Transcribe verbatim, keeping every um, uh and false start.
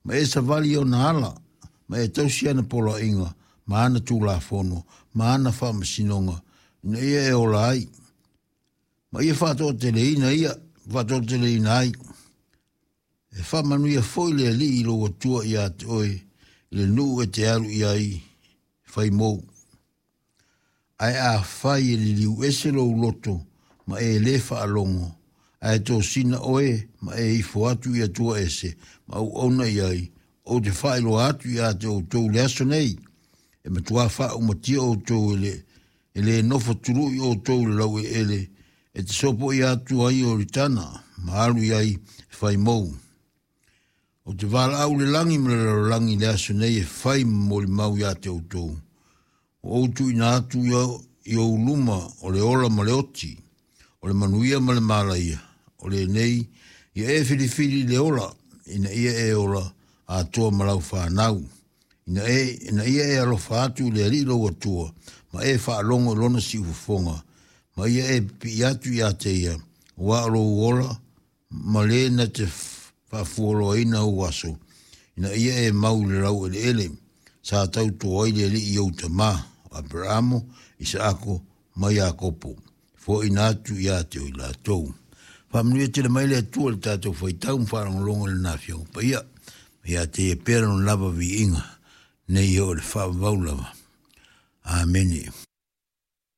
Ma e savali i ona ala, ma e tausi ana poloaiga, ma ana tulafono, ma ana faamasinoga, ina ia e ola ai. Ma ia faatoateleina ia, faatoateleina ai. E faamanuia foi le Alii i lou Atua ia te oe i le nuu e te alu i ai fai mou. Ae afai e liliu ese lou loto ma e lē faalogo, ae tosina oe ma e ifo atu i Atua ese ma auauna i ai, ou te faailoa atu ia te outou i le aso nei, e matuā faaumatia outou e le, e lē nofo tului outou i le laueleele e te sopoia atu ai Ioritana ma alu i ai e fai mou. Ou te valaau i le lagi ma le lalolagi i le aso nei e fai ma molimau ia te outou. Ua ou tuuina atu i ou luma o le ola ma le oti, o le manuia ma le malaia, o lenei, ia e filifili i le ola, ina ia e ola atoa ma lau fanau, ina, e, ina ia e alofa atu i le Alii lou Atua, ma e faalogo i lona siufofoga, ma ia e pipii atu ia te ia, aua o lou ola, ma le na te faafualoaina ou aso, ina ia e mau i le laueleele, sa tauto ai le Alii i ou tamā, o Aperamo, Isaako ma Iakopo, foaiina atu ia te oe latou. Faamanuia tele mai le Atua i le tatou faitau ma faalogologo i lana Afioga Paia, ma ia te ia pea lona lava viiga, nei oo i le faavavau lava. Amene.